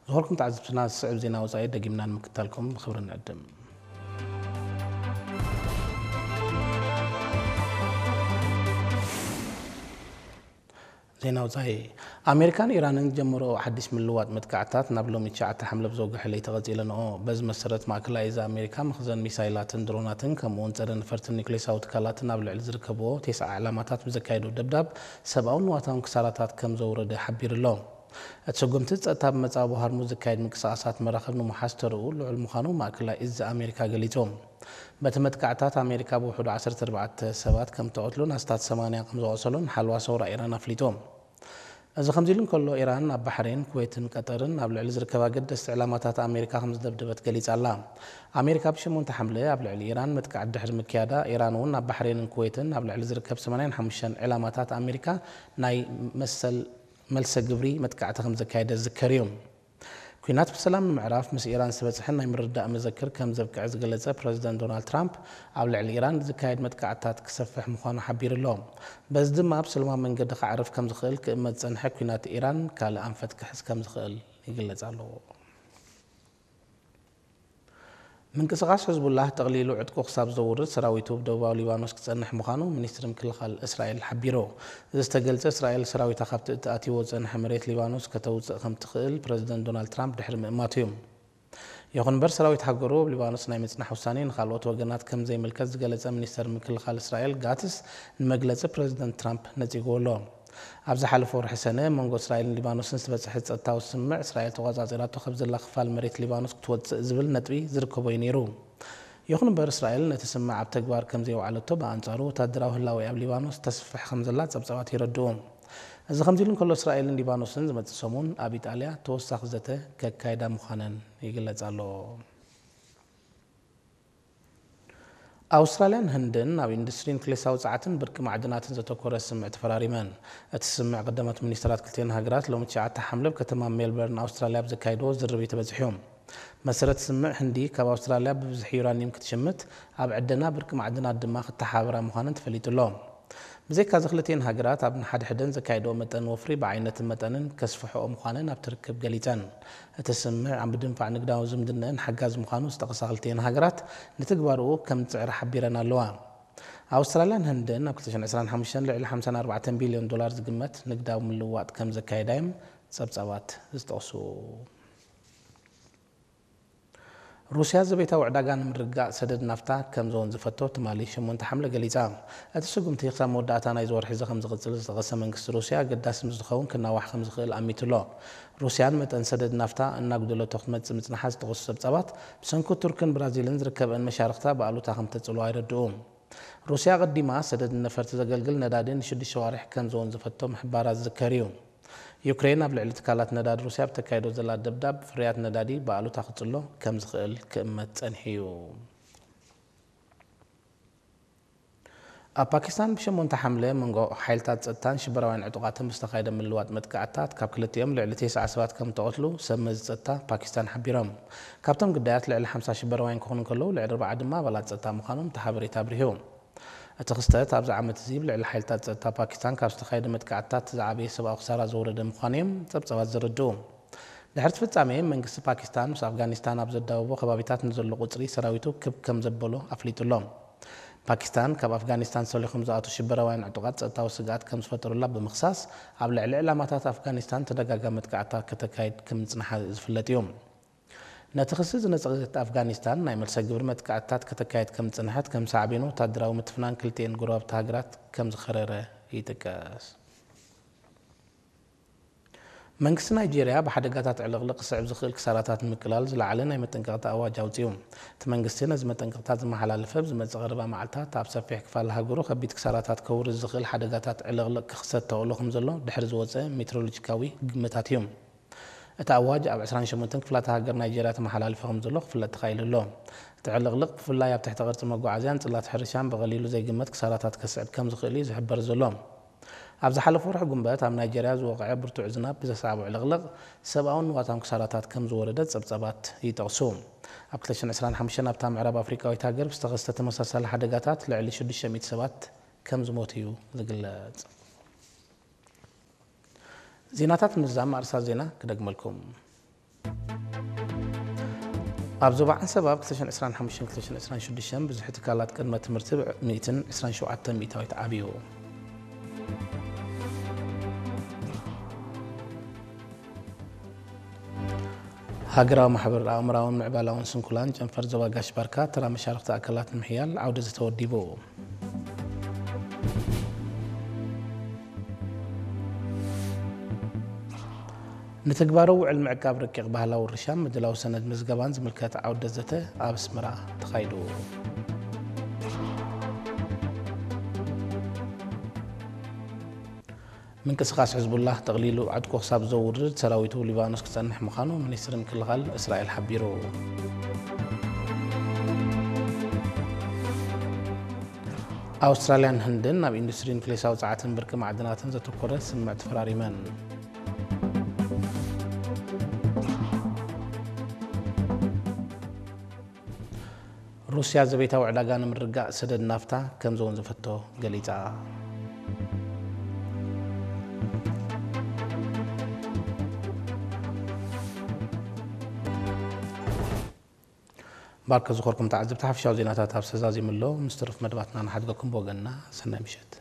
ዝኸበርኩም ተዓዘብትና፣ ዝስዕብ ዜና ወጻኢ ደጊምና ንምክታልኩም ብኽብሪ ንዕድም። ዜና ወጻኢ። ኣሜሪካን ኢራንን ዝጀመርኦ ሓድሽ ምልውዋጥ መጥቃዕትታት ናብ ሎሚ ትሽዓተ ሓምለ ብዘውግሐ ለይቲ ቀጺለንኦ። በዚ መሰረት፣ ማእከላይ እዚ ኣሜሪካ መኽዘን ሚሳይላትን ድሮናትን ከምኡ'ውን ጸረ ነፈርቲ ኒውክሌሳዊ ትካላትን ኣብ ልዕሊ ዝርከብዎ ተስዓ ዕላማታት ብዘካየዶ ደብዳብ ሰብኣውን ንዋታውን ክሳራታት ከም ዘውረደ ሓቢሩ ኣሎ። እቲ ስጉምቲ ጸጥታ ብመጻኢ ሆርሙዝ ዝካየድ ምንቅስቓሳት መራኽብ ንምውሓስ ተርኡ ልዑል ምዃኑ ማእከላይ እዚ ኣሜሪካ ገሊጹ። በቲ መጥቃዕታት ኣሜሪካ ብውሕዱ ዓሰርተ ኣርባዕተ ሰባት ከም ተቐትሉን ኣስታት ሰማንያ ከም ዘቖሰሉን ሓልዋ ሰውራ ኢራን ኣፍሊጡ። እዚ ከምዚ ኢሉ እንከሎ፣ ኢራን ኣብ ባሕሬን፣ ኩዌትን ቀጠርን ኣብ ልዕሊ ዝርከባ ገደስቲ ዕላማታት ኣሜሪካ ከም ዝደብደበት ገሊጻ ኣላ። ኣሜሪካ ብሸሞንተ ሓምለ ኣብ ልዕሊ ኢራን መጥቃዕቲ ድሕሪ ምክያዳ፣ ኢራን እውን ኣብ ባሕሬንን ኩዌትን ኣብ ልዕሊ ዝርከብ ሰማንያን ሓሙሽተን ዕላማታት ኣሜሪካ ናይ መሰል መልሰ ግብሪ መጥቃዕቲ ከም ዘካየደ ዝዝከር እዩ። ኲናት ብሰላም ንምዕራፍ ምስ ኢራን ዝተበጽሐ ናይ ምርድዳእ መዘክር ከም ዘብቅዐ ዝገለጸ ፕረዚደንት ዶናልድ ትራምፕ፣ ኣብ ልዕሊ ኢራን ዝካየድ መጥቃዕትታት ክሰፍሕ ምዃኑ ሓቢሩ ኣሎ። በዚ ድማ ብሰላማዊ መንገዲ ክዓርፍ ከም ዝኽእል ክእመት ዝጸንሐ ኲናት ኢራን ካልእ ኣንፈት ክሕዝ ከም ዝኽእል ይግለጽ ኣሎ። ምንቅስቓስ ሕዝቡላህ ጠቕሊሉ ዕጥቁ ክሳብ ዘውርድ ሰራዊቱ ብደቡባዊ ሊባኖስ ክጸንሕ ምዃኑ ሚኒስትሪ ምክልኻል እስራኤል ሓቢሩ። እዚ ዝተገልጸ፣ እስራኤል ሰራዊታ ካብቲ እተኣትይዎ ዝጸንሐ መሬት ሊባኖስ ከተውጽእ ከም ትኽእል ፕረዚደንት ዶናልድ ትራምፕ ድሕሪ ምእማቱ እዩ። ይኹን እምበር፣ ሰራዊት ሃገሩ ኣብ ሊባኖስ ናይ ምጽናሕ ውሳኔ ንኻልኦት ወገናት ከም ዘይምልከት ዝገለጸ ሚኒስተር ምክልኻል እስራኤል ጋትስ፣ ንመግለጺ ፕረዚደንት ትራምፕ ነጺግዎ ኣሎ። ኣብ ዝሓለፈ ወርሒ ሰነ፣ መንጎ እስራኤልን ሊባኖስን ዝተበጽሐ ጸጥታዊ ስምምዕ፣ እስራኤል ተቖጻጺራቶ ካብ ዘላ ክፋል መሬት ሊባኖስ ክትወጽእ ዝብል ነጥቢ ዝርከቦ እዩ ነይሩ። ይኹን እምበር፣ እስራኤል ነቲ ስምምዕ ኣብ ተግባር ከም ዘየውዓለቶ፣ ብኣንጻሩ ወታደራዊ ህላዌ ኣብ ሊባኖስ ተስፍሕ ከም ዘላ ጸብጻባት የረድኡ። እዚ ከምዚ ኢሉ እንከሎ፣ እስራኤልን ሊባኖስን ዝመጽእ ሰሙን ኣብ ኢጣልያ ተወሳኺ ዘተ ከካይዳ ምዃነን ይግለጽ ኣሎ። ኣውስትራልያን ህንድን ኣብ ኢንዱስትሪ ኒውክሌሳዊ ጸዓትን ብርቂ ማዕድናትን ዘተኮረ ስምምዕ ተፈራሪመን። እቲ ስምምዕ ቀዳሞት ሚኒስተራት ክልቲኤን ሃገራት ሎሚ ትሽዓተ ሓምለ ኣብ ከተማ ሜልበርን ኣውስትራልያ ኣብ ዘካየድዎ ዝርርብ እዩ ተበጺሑ። መሰረት ስምምዕ፣ ህንዲ ካብ ኣውስትራልያ ብብዝሒ ዩራኒየም ክትሽምት፣ ኣብ ዕደና ብርቂ ማዕድናት ድማ ክተሓባበራ ምዃነን ተፈሊጡ ኣሎ። ብዘይካዚ፣ ክልቲኤን ሃገራት ኣብ ንሓድሕደን ዘካየድኦ መጠን ወፍሪ ብዓይነትን መጠንን ከስፍሕኦ ምዃነን ኣብቲ ርክብ ገሊጸን። እቲ ስምምዕ ኣብ ምድንፋዕ ንግዳዊ ዝምድነአን ሓጋዚ ምዃኑ ዝጠቐሳ ክልቲኤን ሃገራት፣ ንትግባርኡ ከም ዝጽዕራ ሓቢረን ኣለዋ። ኣውስትራልያን ህንድን ኣብ ክልተ ሽሕን ዕስራን ሓሙሽተን ልዕሊ ሓምሳን ኣርባዕተን ቢልዮን ዶላር ዝግመት ንግዳዊ ምልውዋጥ ከም ዘካየዳ እዮም ጸብጻባት ዝጠቕሱ። ሩስያ ዘቤታዊ ዕዳጋ ንምርግጋእ ሰደድ ናፍታ ከም ዘወንዝፈቶ ትማሊ ሸሞንተ ሓምለ ገሊጻ። እቲ ስጉምቲ ክሳብ መወዳእታ ናይዚ ወርሒ እዚ ከም ዝቕጽል ዝጠቐሰ መንግስቲ ሩስያ፣ ኣገዳሲ ምስ ዝኸውን ክናዋሕ ከም ዝኽእል ኣሚቱ ኣሎ። ሩስያ ንመጠን ሰደድ ናፍታ እናጉደለቶ ክትመጽእ ምጽንሓ ዝጠቐሱ ጸብጻባት፣ ብሰንኪ ቱርክን ብራዚልን ዝርከበአን መሻርኽታ ብኣሉታ ከም ተጽዕንኦ የረድኡ። ሩስያ ኣቐዲማ ሰደድ ነፈርቲ ዘገልግል ነዳዲ ንሽዱሽተ ኣዋርሕ ከም ዘወንዘፈቶ ምሕባራ ዝዝከር እዩ። ዩክሬን ኣብ ልዕሊ ትካላት ነዳዲ ሩስያ ኣብ ተካይዶ ዘላ ደብዳብ፣ ፍርያት ነዳዲ ብኣሉታ ክጽሎ ከም ዝኽእል ክእመት ጸኒሑ እዩ። ኣብ ፓኪስታን ብሸሞንተ ሓምለ መንጎ ሓይልታት ጸጥታን ሽበራውያን ዕጡቓትን ብዝተኻየደ ምልዋጥ መጥቃዕትታት ካብ ክልቲኦም ልዕሊ ተስዓ ሰባት ከም ተቐትሉ ሰብ መዚ ጸጥታ ፓኪስታን ሓቢሮም። ካብቶም ግዳያት ልዕሊ ሓምሳ ሽበራውያን ክኾኑ እንከለዉ፣ ልዕሊ ኣርብዓ ድማ ኣባላት ጸጥታ ምዃኖም እቲ ሓበሬታ ኣብሪሁ። እቲ ክስተት ኣብዚ ዓመት እዚ ብልዕሊ ሓይልታት ጸጥታ ፓኪስታን ካብ ዝተኻየደ መጥቃዕትታት ዝዓበየ ሰብኣዊ ክሳራ ዘውረደ ምዃኑ እዮም ጸብጻባት ዘረድኡ። ድሕሪ እቲ ፍጻሜ፣ መንግስቲ ፓኪስታን ምስ ኣፍጋኒስታን ኣብ ዘዳወቦ ከባቢታት ንዘሎ ቁጽሪ ሰራዊቱ ክብ ከም ዘበሎ ኣፍሊጡ ኣሎ። ፓኪስታን ካብ ኣፍጋኒስታን ሰሊኾም ዝኣትዉ ሽበራውያን ዕጡቓት ጸጥታዊ ስግኣት ከም ዝፈጠሩላ ብምኽሳስ፣ ኣብ ልዕሊ ዕላማታት ኣፍጋኒስታን ተደጋጋሚ መጥቃዕትታት ከተካይድ ከም ምጽንሓ ዝፍለጥ እዩ። ነቲ ክሲ ዝነጸገት ኣፍጋኒስታን፣ ናይ መልሰ ግብሪ መጥቃዕትታት ከተካይድ ከም ዝጸንሐት፣ ከም ሳዕቤኑ ወታደራዊ ምትፍናን ክልቲኤን ጎረባብቲ ሃገራት ከም ዝኸረረ ይጥቀስ። መንግስቲ ናይጄርያ ብሓደጋታት ዕልቕልቕ ክስዕብ ዝኽእል ክሳራታት ንምቅላል ዝለዓለ ናይ መጠንቀቕታ ኣዋጅ ኣውጺኡ። እቲ መንግስቲ ነዚ መጠንቀቕታ ዝመሓላለፈ፣ ኣብ ዝመጽእ ቀረባ መዓልታት ኣብ ሰፊሕ ክፋል ሃገሩ ከቢድ ክሳራታት ከውርድ ዝኽእል ሓደጋታት ዕልቕልቕ ክኽሰት ተኽእሎ ከም ዘሎ ድሕሪ ዝወጸ ሜትሮሎጂካዊ ግምታት እዩ። እቲ ኣዋጅ ኣብ ዕስራን ሸሞንተን ክፍላተ ሃገር ናይጄርያ ተመሓላሊፉ ከም ዘሎ ክፍለጥ ተኻኢሉ ኣሎ። እቲ ዕልቕልቕ ብፍላይ ኣብ ትሕቲ ቅርጺ መጓዓዝያን ጽላት ሕርሻን ብቐሊሉ ዘይግመት ክሳራታት ከስዕብ ከም ዝኽእል እዩ ዝሕበር ዘሎ። ኣብ ዝሓለፈ ወርሒ ጉንበት ኣብ ናይጄርያ ዝወቕዐ ብርቱዕ ዝናብ ብዘስዓቦ ዕልቕልቕ ሰብኣውን ንዋታውን ክሳራታት ከም ዝወረደ ጸብጻባት ይጠቕሱ። ኣብ ክልተ ሽሕን ዕስራን ሓሙሽተን ኣብታ ምዕራብ ኣፍሪቃዊት ሃገር ብዝተኸስተ ተመሳሳሊ ሓደጋታት ልዕሊ ሽዱሽተ ሚእቲ ሰባት ከም ዝሞቱ እዩ ዝግለጽ። ዜናታት ምዝዛም ኣርእስታት ዜና ክደግመልኩም። ኣብ ዞባ ዓንሰባ ኣብ ክልተ ሽሕን ዕስራን ሓሙሽተን ክልተ ሽሕን ዕስራን ሽዱሽተን ብዝሒ ትካላት ቅድመ ትምህርቲ ብ ሚእትን ዕስራን ሸውዓተን ሚእታዊት ዓብዩ። ሃገራዊ ማሕበር ኣእምራውን ምዕባላውን ስንኩላን ጨንፈር ዞባ ጋሽ ባርካ ተራ መሻርኽቲ ኣካላት ንምሕያል ዓውደ ዘተ ወዲቡ። ንትግባረ ውዕል ምዕቃብ ረቂቕ ባህላዊ ውርሻን ምድላው ሰነድ ምዝገባን ዝምልከት ዓውደ ዘተ ኣብ ኣስመራ ተኻይዱ። ምንቅስቓስ ሕዝቡላህ ጠቕሊሉ ዕጥቁ ክሳብ ዘውርድ ሰራዊቱ ሊባኖስ ክጸንሕ ምዃኑ ሚኒስትሪ ምክልኻል እስራኤል ሓቢሩ። ኣውስትራልያን ህንድን ናብ ኢንዱስትሪ ኒክሌሳዊ ጸዓትን ብርቂ ማዕድናትን ዘተኮረ ስምምዕ ተፈራሪመን። ሩስያ ዘቤታዊ ዕዳጋ ንምርግጋእ ሰደድ ናፍታ ከም ዘወንዘፈቶ ገሊጻ። ባርከ ዝኾርኩም ተዓዘብቲ ሓፈሻዊ ዜናታት ኣብ ሰዛዚሙ ኣሎ። ምስ ትርፍ መደባትና ንሓድገኩም ብወገንና ሰናይ ምሸት።